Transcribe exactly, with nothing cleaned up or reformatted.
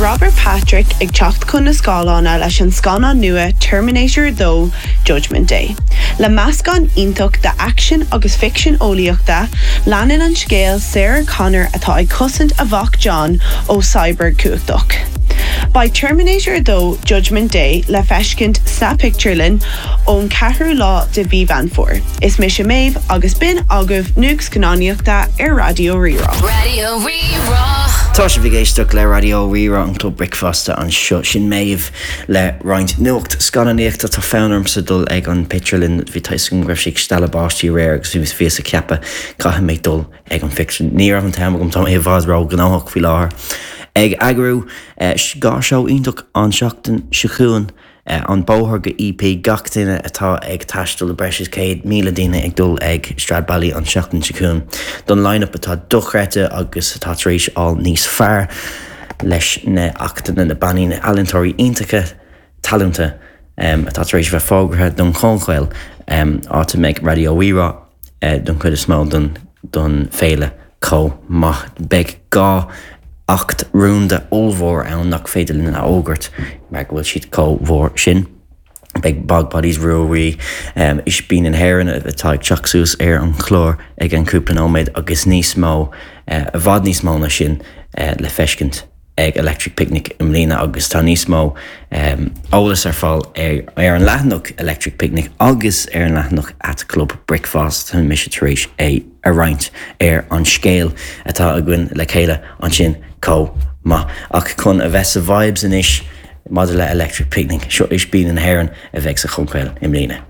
Robert Patrick ag teacht chun na scáileáin leis an scannán nua Terminator dó Judgment Day. Le meascán iontach de action agus ficsean eolaíochta, leanann an scéal Sarah Connor atá ag cosaint a mhac John ó cyborg cumhachtach. Beidh Terminator dó Judgment Day le feiscint sa pictiúrlann ón ceathrú lá de mhí Mheán Fómhair. Is mise Méabh agus b'in agaibh nuacht scannánaíochta ar Raidió Rí-Rá. Raidió Rí-Rá. Tá sibh ag éisteacht le Raidió Rí-Rá an Club Bricfeasta anseo sin Méabh le roinnt nuacht scannánaíochta tá fonn ormsa dul ag an pictiúrlann bhí tá go raibh sé ag stealladh báistí aréir agus bhí fios a ceapadh caithfidh mé dul ag an phictiúrlann. Ní raibh an t-am agam tá i bhfad róghnóthach faoi láthair. Ag eagrú dhá seó iontach an seachtain seo chugainn an bóthar go EP gach duine atá ag taisteal le breis is céad míle duine ag dul ag Stradbally an seachtain seo chugainn. Don line-up atá dochreidte agus atá tar éis fáil níos fearr leis na hachtanna na bannaí na healaíontóirí iontacha talúnta um, atá tar éis bheith fógartha don Chollchoill um, áit a mbeidh Raidió Rí-Rá uh, don chuid is mó don, don féile chomh maith beidh dhá act rúnda ollmhór ann nach féidir linn a fhógairt mar go bhfuil siad chomh mór sin. Beidh Bog Bodies Ruairí um, Ispín na hÉireann atá ag teacht suas ar an chlár ag an cúpla nóiméad agus níos mó uh, i bhfad níos mó ná sin uh, le feiscint ag Electric Picnic i mbliana agus tá níos mó um, eolas ar fáil ar, ar an leathanach Electric Picnic agus ar an leathanach at Club Bricfeasta tá mise tar éis é a roinnt ar an scéal atá againn le chéile ansin chomh maith ach chun a bheith sa vibes anois maidir le Electric Picnic seo Ispín na hÉireann a bheidh sa Chollchoill i mbliana.